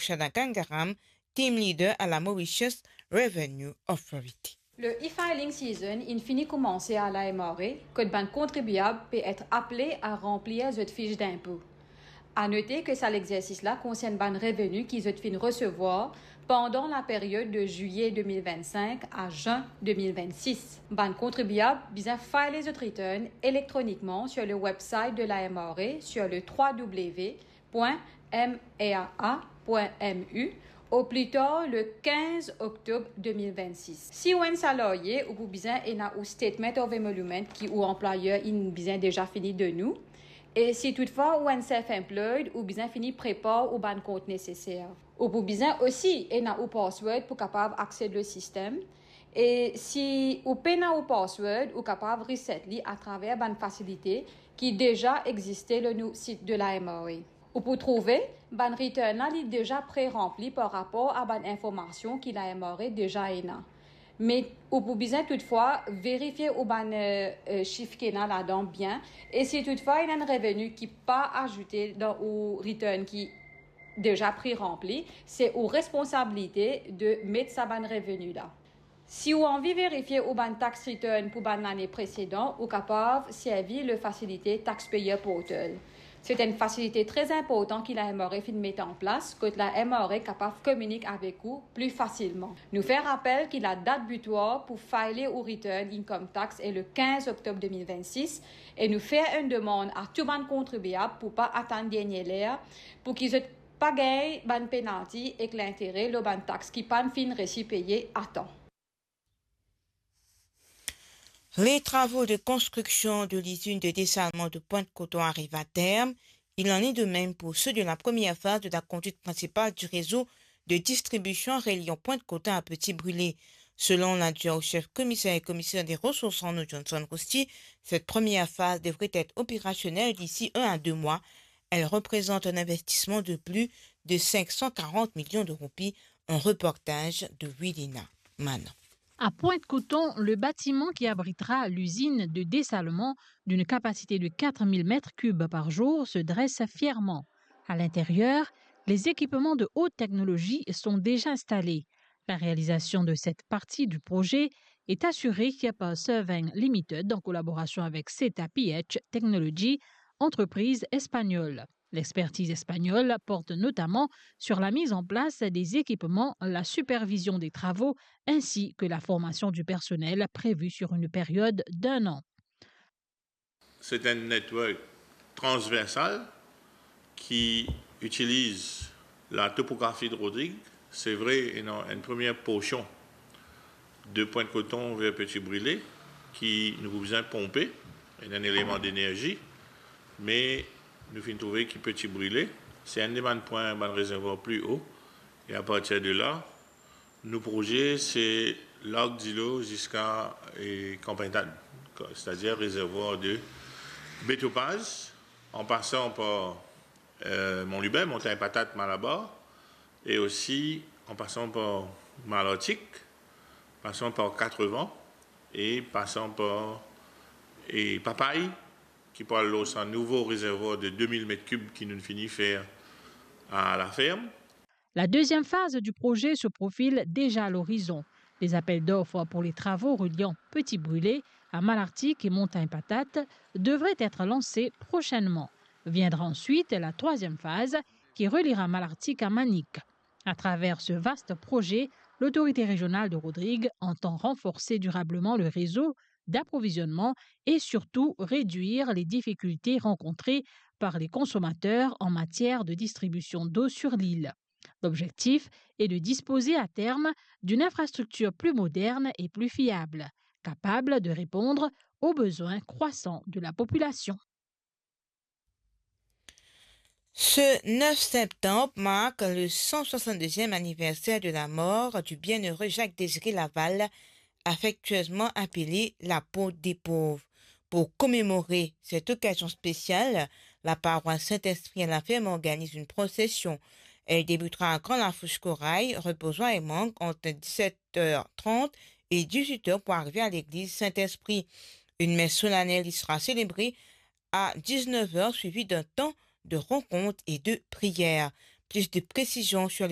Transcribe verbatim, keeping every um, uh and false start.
Chadagangaram, team leader à la Mauritius Revenue Authority. Le e-filing season inn fini koumanse a la M R A, kot bann kontribiab pe et aple a ranplir zot fich dinpo. A note ke sa lexersis la konsern bann reveni ki zot finn resevwar pandan laperyod de zilye de mil vennsenk a zin de mil vennsis. Bann kontribiab bizin file zot return elektronikman sur le website de la M R A sur le trois W point M R A point M U au plus tard le quinze octobre deux mille vingt-six. Si ou enn salarye, ou pou bizin ena ou statement of emolument ki ou anplwayer inn bizin deza fini donn ou. E si toutfwa ou enn self-employed, ou bizin fini prepar ou bann kont neseser. Ou pou bizin osi ena ou password pou kapav aksed le sistem. E si ou pena ou password, ou kapav reset li atraver bann fasilite ki deza existe lor nou sit de la M R A. Ou pou trouve bann return la li deza pre-ranpli par rapor a bann informasion ki la M R A deza ena. Me ou pou bizin toutfwa verifie ou bann, eh, eh, sif ki ena ladan bien. E si toutfwa ena enn reveni ki pa azoute dan ou return ki deza pre-ranpli, se ou responsabilite de met sa bann reveni la. Si ou anvi verifie ou bann tax return pou bann lane presedan, ou kapav servi le fasilite Taxpayer Portal. Se enn fasilite tre inportan ki la M R A finn met an plas, kot la M R A kapav kominik avek ou pli fasilman. Nou fer rapel ki ladat bitwar pou file ou return income tax e le quinze octobre deux mille vingt-six, e nou fer enn demann a tou bann kontribiab pou pa atann dernie ler, pou ki zot pa gagn bann penalti ek lintere lor bann tax ki pa'nn finn resi peye atan. Les travaux de construction de l'usine de dessalement de Pointe-Coton arrivent à terme. Il en est de même pour ceux de la première phase de la conduite principale du réseau de distribution reliant Pointe-Coton à Petit-Brûlé. Selon l'adjoint au chef commissaire et commissaire des ressources en eau, Johnson Rousti, cette première phase devrait être opérationnelle d'ici un à deux mois. Elle représente un investissement de plus de cinq cent quarante millions de roupies. Un reportage de Wilina Manon. À Pointe-Coton, le bâtiment qui abritera l'usine de dessalement d'une capacité de quatre mille mètres cubes par jour se dresse fièrement. À l'intérieur, les équipements de haute technologie sont déjà installés. La réalisation de cette partie du projet est assurée par Surveng Limited en collaboration avec Seta P H Technology, entreprise espagnole. L'expertise espagnole porte notamment sur la mise en place des équipements, la supervision des travaux ainsi que la formation du personnel prévue sur une période d'un an. C'est un network transversal qui utilise la topographie de Rodrigues. C'est vrai, une, une première portion de Pointe-Coton vers Petit-Brûlé, ki nou pou bizin ponpe, ena enn eleman denerzi, me nou finn trouve ki Petit-Brûlé, se enn de bann pwin, bann rezervwar pli o, e apartir de la, nou proze, se larg dilo ziska, e, Kan Pintad, setadir rezervwar de Betopaz, an pasan par, e, Mont Lubin, Montagne Patate, Malabar, e osi an pasan par Malartik, pasan par Katrevant e pasan par, e, Papay, ki pou al lor sa nouvo rezervwar de de mil met kib ki nou fini fer a laferm. La deuxième phase du projet se profile déjà à l'horizon. Les appels d'offres pour les travaux reliant Petit-Brûlé à Malartic et Montagne Patate devraient être lancés prochainement. Viendra ensuite la troisième phase qui reliera Malartic à Manic. À travers ce vaste projet, l'autorité régionale de Rodrigues entend renforcer durablement le réseau d'approvisionnement et surtout réduire les difficultés rencontrées par les consommateurs en matière de distribution d'eau sur l'île. L'objectif est de disposer à terme d'une infrastructure plus moderne et plus fiable, capable de répondre aux besoins croissants de la population. Ce neuf septembre marque le cent soixante-deuxième anniversaire de la mort du bienheureux Jacques Désiré Laval, affectueusement appelé l'apôtre des pauvres. Pour commémorer cette occasion spéciale, la paroisse Saint-Esprit à la Ferme organise une procession. Elle débutera à Grand Lafourche Corail, reposant et manque entre dix-sept heures trente et dix-huit heures pour arriver à l'église Saint-Esprit. Une messe solennelle y sera célébrée à dix-neuf heures, suivie d'un temps de rencontre et de prière. Plus de précisions sur les